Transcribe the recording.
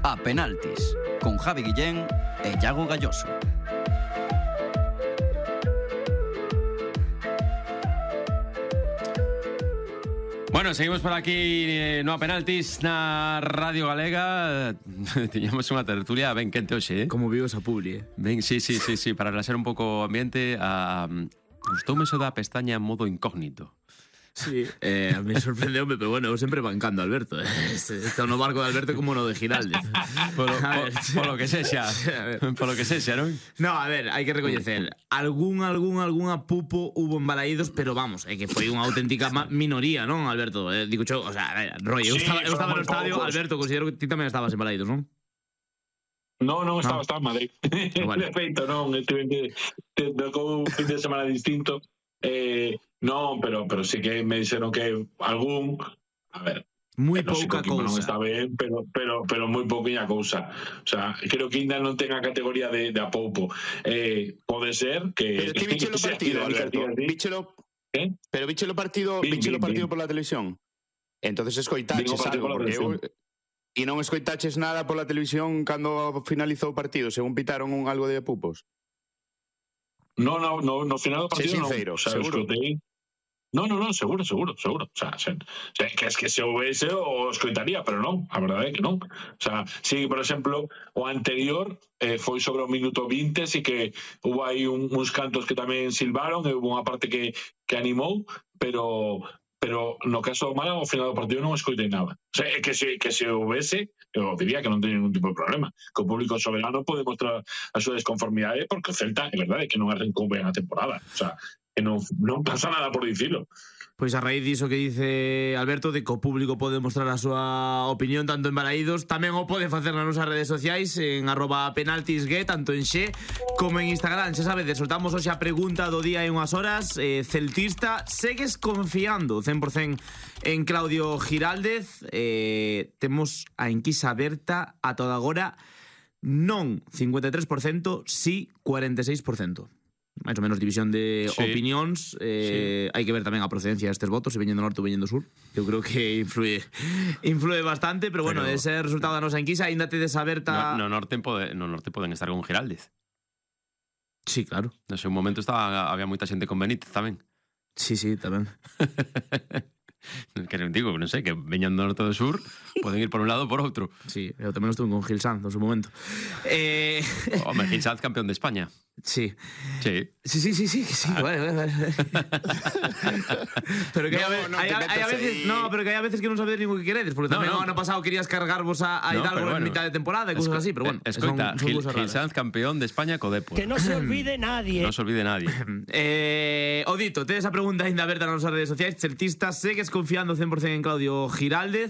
A Penaltis, con Javi Guillén e Iago Galloso. Bueno, seguimos por aquí no a Penaltis na Radio Galega. Tiñamos unha tertulia ben quente hoxe, Como vivo esa publi, Ben, sí, para relaxar un pouco o ambiente. Gustoume eso da pestaña modo incógnito. Sí, a mí sorprendeume, pero bueno, eu sempre bancando a Alberto. Está no barco de Alberto como no de Giraldez. Polo que sexa. Polo que sexa, non? No, a ver, hai que recoñecer algunha pupo hubo en Balaídos, pero vamos, é que foi unha auténtica minoría, non, Alberto? Digo yo, o sea, a ver, Roy, eu estaba no estadio, Alberto, considero que ti tamén estabas en Balaídos, non? No, estaba en Madrid. Vale. De feito, non, tocou un fin de semana distinto. No, pero sí que me dixeron que algún, a ver, moi pouca cousa. Non está ben, pero moi pouquiña cousa. O sea, creo que ainda non ten a categoría de apoupo. Pode ser que... Pero ti biche lo partido, Alberto. Pero biche lo partido por la televisión. Entonces escoitaches algo, porque eu... E non escoitaches nada pola televisión cando finalizou o partido, según pitaron algo de pupos. No, final do partido non. Sincero, O sea, seguro. Escutei... No, seguro. O sea, que es que se houvese o escoitaría, pero non, a verdade é que non. O sea, si, por exemplo, o anterior foi sobre o minuto 20, si que hubo aí uns cantos que tamén silbaron, e hubo unha parte que animou, pero no caso do Málaga, ao final do partido non escoitei nada. O sea, que se houvese, eu diría que non teño ningún tipo de problema. Que o público soberano pode mostrar a súa desconformidade, porque o Celta, é verdade, que non arrancou ben a temporada. O sea, que non pasa nada por dicilo. Pois a raíz diso que dice Alberto, de que o público pode mostrar a súa opinión tanto en Balaídos, tamén o pode facer nas nosas redes sociais en @penaltisgue, tanto en Xe como en Instagram. Xa sabedes, soltamos hoxe a pregunta do día en unhas horas. Celtista, segues confiando 100% en Claudio Giraldez? Temos a enquisa aberta a toda agora. Non 53%, sí 46%. máis ou menos división de opinións. Hai que ver tamén a procedencia destes votos, se veñen do norte ou veñen do sur. Eu creo que influe bastante, pero bueno, ese resultado da nosa enquisa aínda tedes aberta. No norte poden estar con Giraldez. Sí, claro. No seu momento había moita xente con Benítez tamén. Sí, tamén. Que digo, non sei, que veñan do norte ou do sur, poden ir por un lado ou por outro. Sí, eu tamén estuve con Gil Sanz no seu momento. Home, Gil Sanz campeón de España. Sí. Sí. Vale. Pero que hai a veces, pero que hai a veces que non sabedes nin o que queredes, porque tamén o ano pasado querías cargarvos a Hidalgo en mitad de temporada e cousas así, pero bueno. Escoita, Gil Sanz campeón de España co Depor. Que non se olvide nadie. Non se olvide nadie. O dito, tedes a pregunta ainda aberta nas nosas redes sociais. Celtistas, segues confiando 100% en Claudio Giraldez?